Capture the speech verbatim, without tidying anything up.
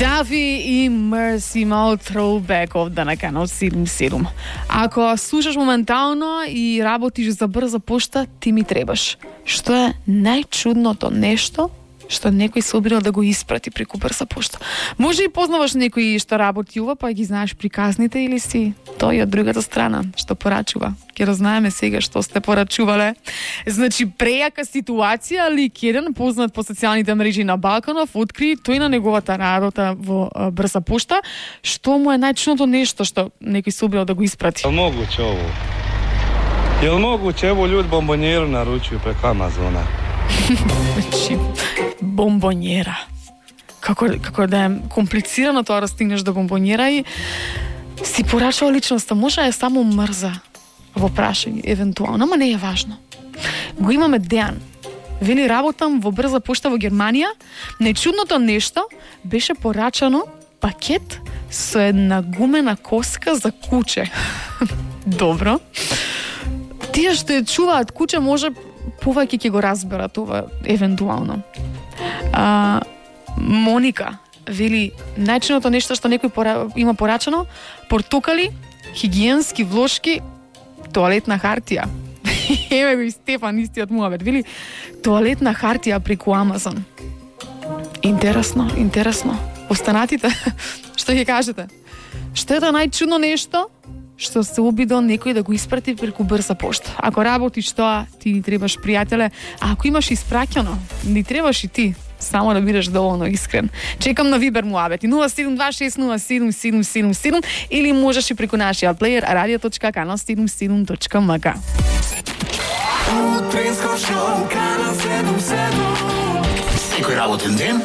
Дафи и Мерси мал throwback овде на канал седум седум. Ако слушаш моментално и работиш за брза пошта, ти ми требаш. Што е најчудното нешто што некој се обидел да го испрати преку брза пошта? Може и познаваш некој што работи ова, па ги знаеш приказните, или си тој од другата страна што порачува. Ке разнаеме сега што сте порачувале. Значи, прејака ситуација, лик еден познат по социјалните мрежи на Балканов откри тој на неговата работа во а, брза пошта, што му е најчудното нешто што некој се обидел да го испрати. Јел могуќе ово? Јел могуќе ево луѓе бомбонјеру наручуju преку Амазона? Значи, бомбонјера. Како, како да е комплицирано тоа да стигнеш до бомбонјера и си порачува личноста. Може да е само мрза во прашање, евентуално, ама не е важно. Го имаме Дејан. Вели, работам во брза пошта во Германија. Најчудното нешто беше порачано пакет со една гумена коска за куче. Добро. Тие што ја чуваат куче може повеќе ќе го разберат ова евентуално. А, Моника вели, најчудното нешто што некој пора, има порачано: портокали, хигиенски влошки, тоалетна хартија. Еве го и Стефан, истиот муабет. Вели, тоалетна хартија преку Амазон. Интересно, интересно. Останатите, што ќе кажете? Што е тоа најчудно нешто што се обидел некој да го испрати преку брза пошта? Ако работиш тоа, ти ни требаш, пријателе. А ако имаш испраќано, ни требаш и ти. Само да бидеш доволно искрен. Чекам на Вибер муабети нула седум два шест нула седум седум седум седум или можеш и преку нашиот плејер радио точка канал седум седум точка ем ка. Утринско шоу канал седум седум. Секој работен ден